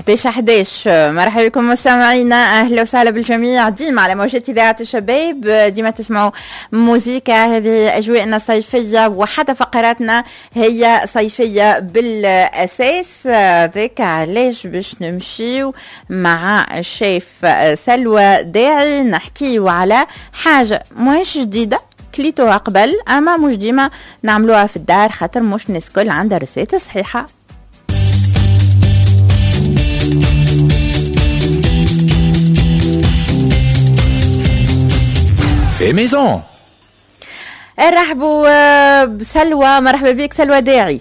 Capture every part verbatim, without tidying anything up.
إحداش إحداش. مرحبا بكم مستمعينا، اهلا وسهلا بالجميع. ديما على موجات اذاعة الشباب، ديما تسمعوا موزيكا، هذه اجواءنا الصيفية وحتى فقراتنا هي صيفية بالاساس. ذاك علاش باش نمشيو مع الشيف سلوى داعي نحكيو على حاجة ماهيش جديدة، كليتوها قبل اما مش ديما نعملوها في الدار خاطر مش الناس الكل عندها recette صحيحه. في maison. نرحبوا بسلوى، مرحبا بك سلوى داعي.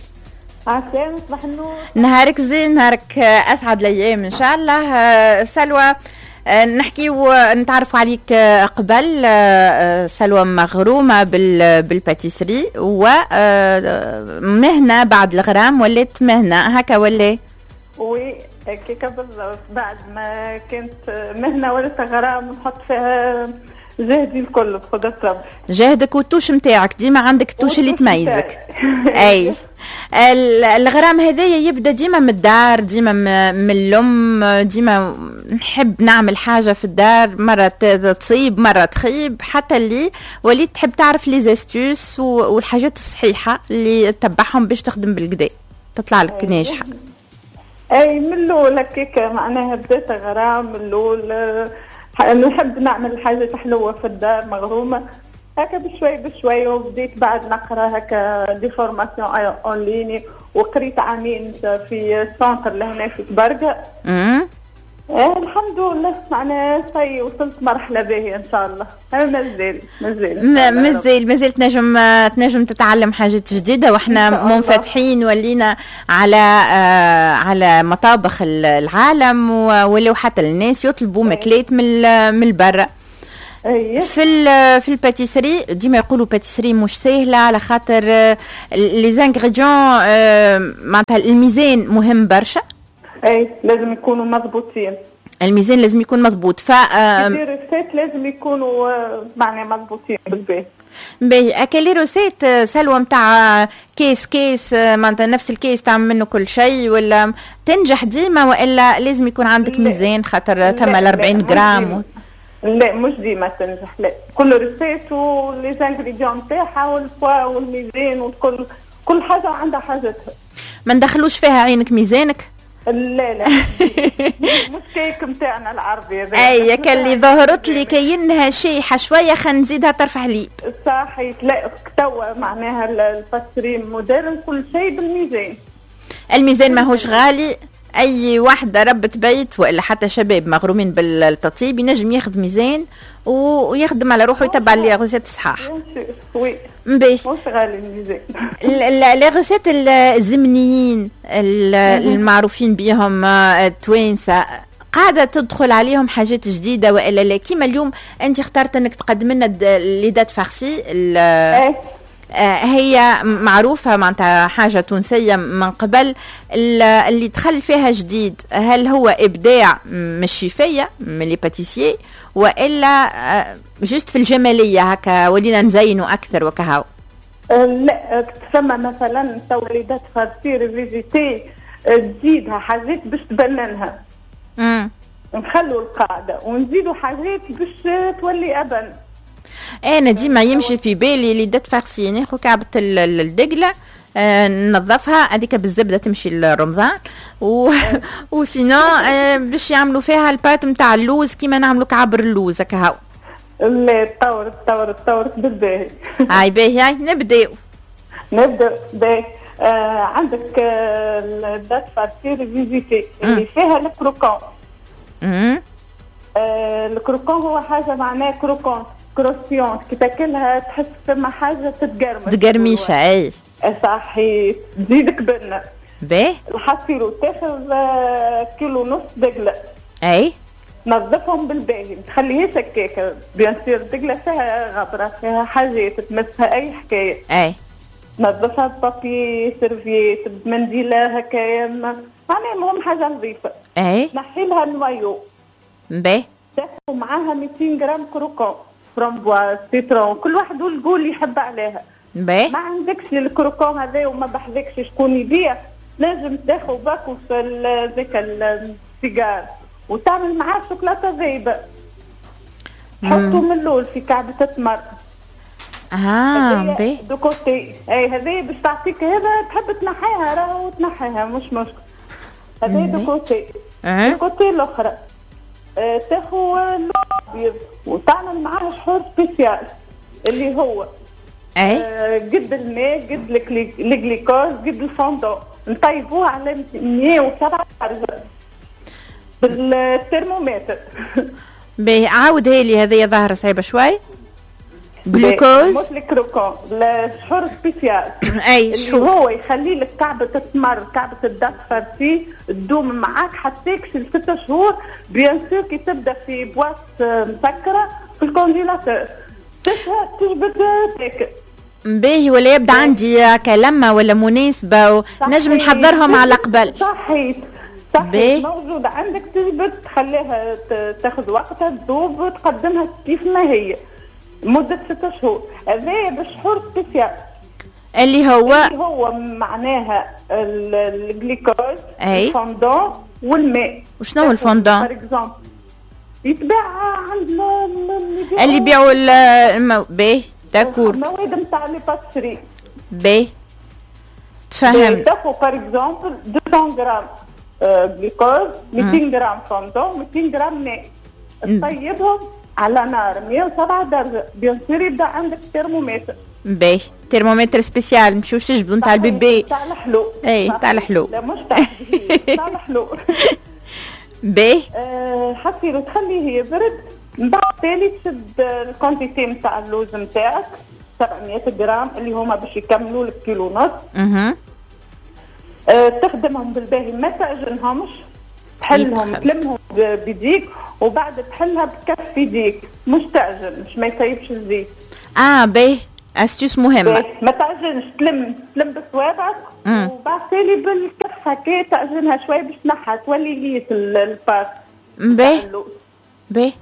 عسلامة، صباح النور. نهارك زين، نهارك اسعد الايام ان شاء الله. سلوى نحكيو نتعرفوا عليك قبل. سلوى مغرومه بال pâtisserie ومهنه بعد الغرام ولات مهنة هكا ولا؟ oui هكاك بالضبط، بعد ما كانت مهنة ولات غرام نحط فيها جهدي الكل بقدرة ربي. جهدك وال touche نتاعك، ديما عندك ال touche اللي تميزك. اي الغرام هذايا يبدا ديما من الدار، ديما من الام، ديما نحب نعمل حاجة في الدار، مرة تصيب مرة تخيب، حتى اللي وليت تحب تعرف les astuces والحاجات الصحيحة اللي تتبعهم باش تخدم بالكدا تطلع لك ناجحة. اي من الاول هكاك معناها بدات غرام من الاول، نحب نعمل حاجة حلوة في الدار، مغرومة هكا بشوي بشوي، وبديت بعد نقرا هكا des formations en ligne، وقريت عامين في centre لهنا في تبرقة. امم آه الحمد لله معناها صي وصلت مرحلة باهية إن شاء الله. أنا مازال مازال مازال مازال تنجم تنجم تتعلم حاجات جديدة، وإحنا منفتحين ولينا على آه على مطابخ العالم، ولو حتى الناس يطلبوا ماكلات من من البرا. في في ال pâtisserie ديما يقولوا pâtisserie مش سهلة على خاطر les ingrédients، معناتها الميزان مهم برشا. اي لازم يكونوا مضبوطين، الميزان لازم يكون مضبوط. ف les recettes لازم يكونوا معناها مضبوطين بالباهي. باهي اكا les recettes سلوى نتاع كيس كيس معناتها نفس الكيس تعمل منه كل شيء ولا تنجح ديما، والا لازم يكون عندك ميزان خاطر ثم أربعين غرام و... لا مش ديما تنجح، لا كل recette و les ingrédients نتاعها والفوا والميزان وكل كل حاجة عندها حاجتها. ما ندخلوش فيها عينك ميزانك؟ لا لا مش كيك نتاعنا العربي هذا. اي كان اللي ظهرت لي كاينها شيحه شوية خلينا نزيدها طرف حليب. صحيح، لا توا معناها ال pâtisserie moderne كل شيء بالميزان. الميزان ماهوش غالي، اي واحدة ربة بيت والا حتى شباب مغرومين بالتطيب ينجم ياخذ ميزان ويخدم على روحه ويتبع les recettes صحاح. oui باش مش غالي الميزان. les recettes الزمنيين المعروفين بهم التوانسة قاعدة تدخل عليهم حاجات جديدة والا لا؟ كيما اليوم انت اخترت انك تقدم لنا les dattes farcies، هي معروفة معناتها حاجة تونسية من قبل، اللي دخل فيها جديد هل هو إبداع من الشيفية من les pâtissiers وإلا juste في الجمالية هكا ولينا نزينوا أكثر وكهو؟ لا تسمى مثلا تو les dattes farcies revisitées تزيدها حاجات باش تبننها. امم نخلوا القاعدة ونزيدوا حاجات باش تولي أبن. انا ديما يمشي في بالي les dattes farcies ناخذ كعبه الدقله آه ننظفها هذيك بالزبده تمشي لرمضان و و sinon آه باش يعملوا فيها ال pâte نتاع اللوز كيما نعملوا كعبر اللوز هكا هاو. لا تطورت تطورت تطورت بالباهي. هاي باهي، هاي نبداو نبداو باهي. آه عندك آه ال dattes farcies revisitées اللي فيها ال croquant. امم آه ال croquant هو حاجة معناها croquant croustillant، كي تاكلها تحس فما حاجة تتقرمش. تقرميشه اي صحيح، تزيدك بنه. باهي الحصيرو تاخذ كيلو ونص دقله. اي نظفهم بالباهي، ما تخليهاش هكاك، bien sûr الدقله فيها غبرة فيها حاجات تمسها اي حكاية. اي نظفها ب papier serviette بمنديله هكايا، معناها المهم حاجة نظيفة. اي نحي لها ال noyau. باهي تاخذ معاها مئتين غرام croquant framboise citron، كل واحد وال goût اللي يحب عليها. باهي ما عندكش ال croquant هذا وما بحذكش شكون يبيع، لازم تاخذ باكو في ذاك سيجار وتعمل معاه شوكولاتة ذايبه. تحطه من الاول في كعبه التمر. اه باهي de côté. اي هذه باش تعطيك هذا، تحب تنحيها راهو تنحيها مش مشكل. هذا de côté. de côté الاخرى آه تاخذ الابيض وتعمل معاه شحور spécial اللي هو اي آه قد الماء قد الجليكوز قد الفوندون، نطيبوه على مية وسبعة درجة بالترمومتر. باهي عاودها لي، هذه ظاهرة صعيبة شوي. جلوكوز مش ال croquant، الشحور spécial. اي اللي هو يخلي لك كعبة التمر كعبة ال dattes farcies تدوم معاك حتى لستة شهور. bien sûr كي تبدا في boîte مسكرة في ال congélateur تجبد تاكل. باهي ولا يبدا عندي كلمة ولا مناسبة ونجم نحضرهم على قبل. صحيح صحيح موجود عندك، تجبد تخليها تاخذ وقتها تذوب تقدمها كيف ما هي مدة ستة شهور. هذا بالشحور spécial اللي هو اللي هو معناها الجليكوز الفوندون والماء. وشنو هو ال fondant؟ يتباع عند اللي يبيعوا المو... باهي d'accord المواد نتاع les pâtisseries. باهي تفهم. تاخذ par exemple مئتين غرام جلوكوز، مئتين غرام فوندون، مئتين غرام ماء، تطيبهم على نار مية وسبعة درجة. bien sûr يبدا عندك ترمومتر. باهي thermomètre spécial مشيوش تجبدو نتاع ال bébé تاع الحلو. اي تاع الحلو. لا مش تاع تاع الحلو. باهي أه حصيلو تخليه يبرد. من بعد تالي تشد ال quantité نتاع اللوز نتاعك سبعمية غرام اللي هما باش يكملوا لك كيلو ونص. اها أه تخدمهم بالباهي، ما تعجنهمش، تحلهم تلمهم بيديك وبعد تحلها بكف يديك، مش تعجن مش ما يسيبش الزيت. اه باهي astuce مهمة. ما تعجنش، تلم تلم بصوابعك وبعد تالي بالكف هكا تعجنها شوية باش تنحى تولي lisse ال pâte. باهي باهي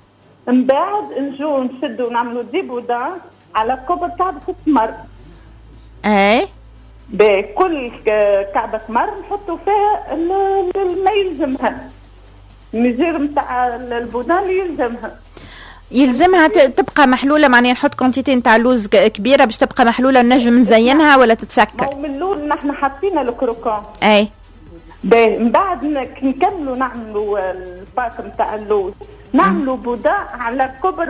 من بعد نجو نشدو نعملو des boudins على كبر كعبة التمر. اي باهي كل كعبة تمر نحطو فيها ما يلزمها، ال mesure نتاع ال boudin اللي يلزمها. يلزمها تبقى محلولة، معناها نحط quantité نتاع لوز كبيرة باش تبقى محلولة نجم نزينها ولا تتسكر؟ من الاول نحن حاطين ال croquant. اي باهي من بعد نكملوا نعملوا ال pâte نتاع اللوز، نعملوا boudin على كبر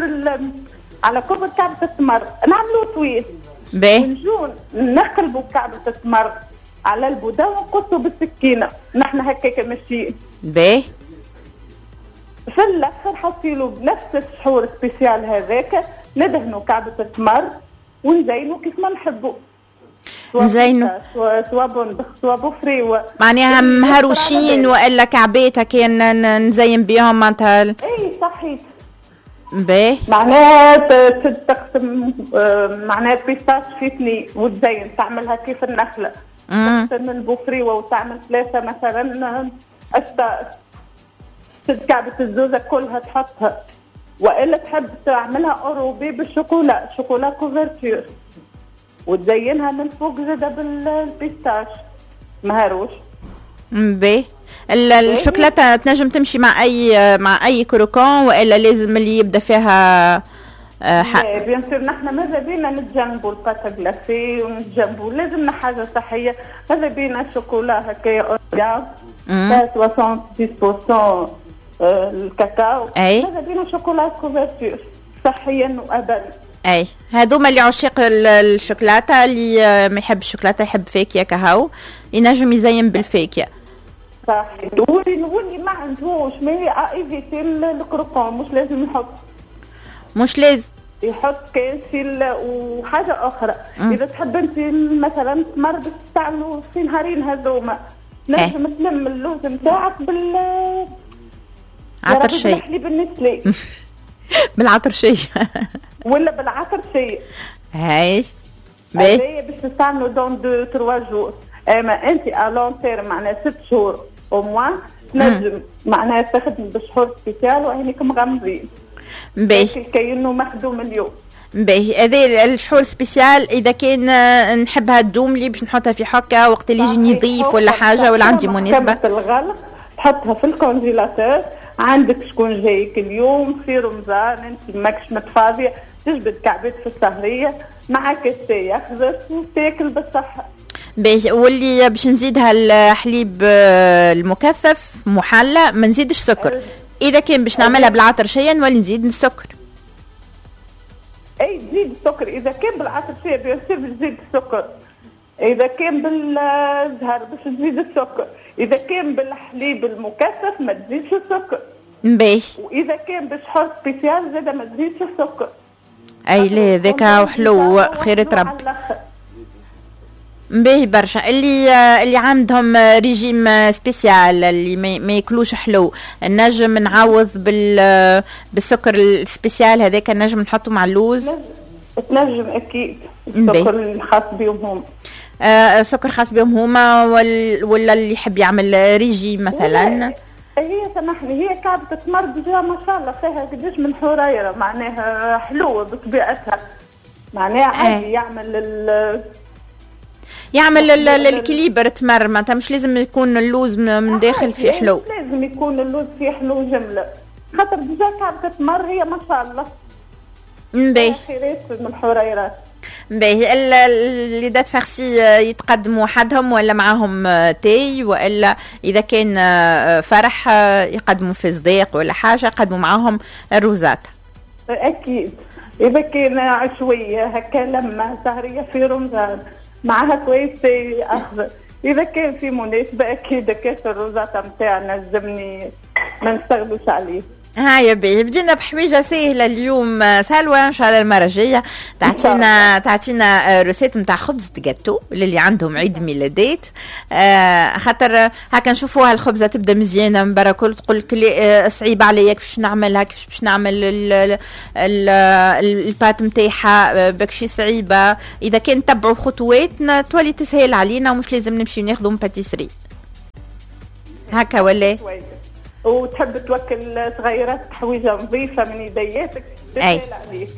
على كبر كعبة التمر، نعملوا طويل. باهي ونجو نقلبوا كعبة التمر على ال boudin ونقصوا بالسكينة، نحن هكاك ماشيين. باهي في الاخر حصيلو بنفس الشحور spécial هذاك ندهنوا كعبة التمر ونزينوا كيف ما نحبوا. نزينوا سوا بندق سوا بوفريوه، معناها مهروشين والا كعبات هكا نزين بيهم معناتها. اي صحيح. باهي معناها تقسم معناها pistache في اثنين وتزين تعملها كيف النخلة. تقسم البوفريوه وتعمل ثلاثة مثلا اشتاء، تشد كعبة الزوزة كلها تحطها، والا تحب تعملها enrobée بال chocolat، chocolat couverture، وتزينها من فوق زاده بال pistache مهروش. باهي الشوكولاتة تنجم تمشي مع اي مع اي croquant والا لازم اللي يبدا فيها حق؟ bien sûr نحن ماذا بينا نتجنبوا ال pâte glacée ونتجنبوا، لازمنا حاجة صحية، ماذا بينا شوكولا هكايا فيها سبعة وسبعين بالمية الكاكاو، ماذا بينا chocolat couverture صحيا وابدا. اي هذوما اللي عشاق الشوكولاتة، اللي ما يحب الشوكولاتة يحب فاكهة كهو ينجم يزين بالفاكهه. صح. واللي ما عندهوش mais à éviter ال croquant، مش لازم يحط، مش لازم يحط كان في. وحاجه اخرى مم. اذا تحب انت مثلا تمر باش تعملوا في نهارين هذوما نجم تلم اللوز نتاعك بال عطر شيء بالحليب النسلي بالعطر شيء ولا بالعطر شيء. هاي باهي باش تستعملوا dans deux trois jours، اما انت à long terme معناها ست شهور au moins تنجم معناها تخدم بشحور spécial وعينيك مغمضين. باهي كأنه مخدوم اليوم. باهي هذا الشحور spécial اذا كان نحبها تدوم لي باش نحطها في حكه وقت اللي يجيني ضيف ولا حاجة ولا عندي مناسبة. الغلق تحطها في ال congélateur. عندك شكون جايك اليوم في رمضان، انت ماكش متفاضيه، تجبد كعبات في السهريه مع كاس تاي اخضر وتاكل بالصحة. باهي، واللي باش نزيدها الحليب المكثف محلى ما نزيدش سكر. اذا كان باش نعملها بالعطرشيه نولي نزيد السكر. اي تزيد السكر اذا كان بالعطرشيه bien sûr باش تزيد السكر، اذا كان بالزهر باش تزيد السكر، اذا كان بالحليب المكثف ما تزيدش السكر. باهي، واذا كان بشحور spécial زاده ما تزيدش السكر. اي لا ذاك حلو خيرة ربي. باهي برشا. اللي اللي عندهم régime spécial اللي ما ياكلوش حلو، نجم نعوض بال بالسكر ال spécial هذاك، نجم نحطه مع اللوز. تنجم اكيد السكر الخاص بهم هم. آه سكر خاص بهم هما، ولا اللي يحب يعمل ريجيم مثلا. هي سامحني، هي كعبة التمر déjà ما شاء الله فيها قداش من حريرة، معناها حلوة بطبيعتها، معناها عادي يعمل ال يعمل ال équilibre تمر، معناتها مش لازم يكون اللوز من داخل فيه حلو. مش لازم يكون اللوز فيه حلو جملة، خاطر déjà كعبة التمر هي ما شاء الله باهي خيرات من الحريرات. باهي، les dattes farcies يتقدموا وحدهم ولا معاهم تاي، والا اذا كان فرح يقدموا في صديق ولا حاجة يقدموا معاهم الروزات؟ اكيد اذا كان عشويه هكا لما سهريه في رمضان معها كويس تاي اخضر، اذا كان في مناسبة اكيد كاس الروزاتا نتاعنا لازمني ما نستغلوش عليه. هاي باهي، بدينا بحويجه سهلة اليوم سلوى، ان شاء الله المرة الجاية تعطينا تعطينا recette نتاع خبز جاتو للي عندهم عيد ميلادات. آه خاطر هكا نشوفوها الخبزة تبدا مزيانه من برا كل تقول لك صعيبة عليا كيفاش نعملها، كيفاش باش نعمل ال pâte نتاعها بكشي صعيبة. اذا كان تبعوا خطواتنا تولي تسهل علينا ومش لازم نمشي ناخذوا من pâtisserie هكا ولا. وتحب توكل صغيرات حويجه نظيفة من يدياتك تسهل عليك.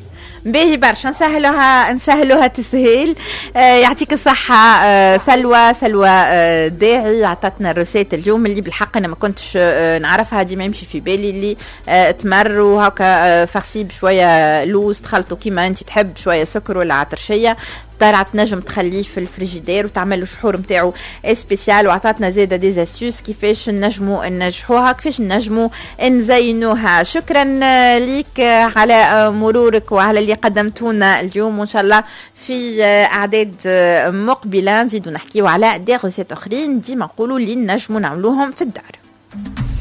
باهي برشا، نسهلوها نسهلوها تسهيل. آه يعطيك الصحة آه سلوى سلوى آه داعي عطتنا ال recette اليوم اللي بالحق أنا ما كنتش آه نعرفها، ديما يمشي في بالي اللي آه تمر وهكا آه farci بشوية لوز تخلطوا كيما أنت تحب، شوية سكر ولا عطرشية، طلعت نجم تخليه في الفريجيدير وتعمل له شحور نتاعو spécial. وعطاتنا زاده des astuces كيفاش نجموا ننجحوها، كيفاش نجموا نزينوها. شكرا ليك على مرورك وعلى اللي قدمتونا اليوم، وان شاء الله في اعداد مقبله نزيدوا نحكيو على des recettes اخرين ديما نقولوا اللي نجموا نعملوهم في الدار.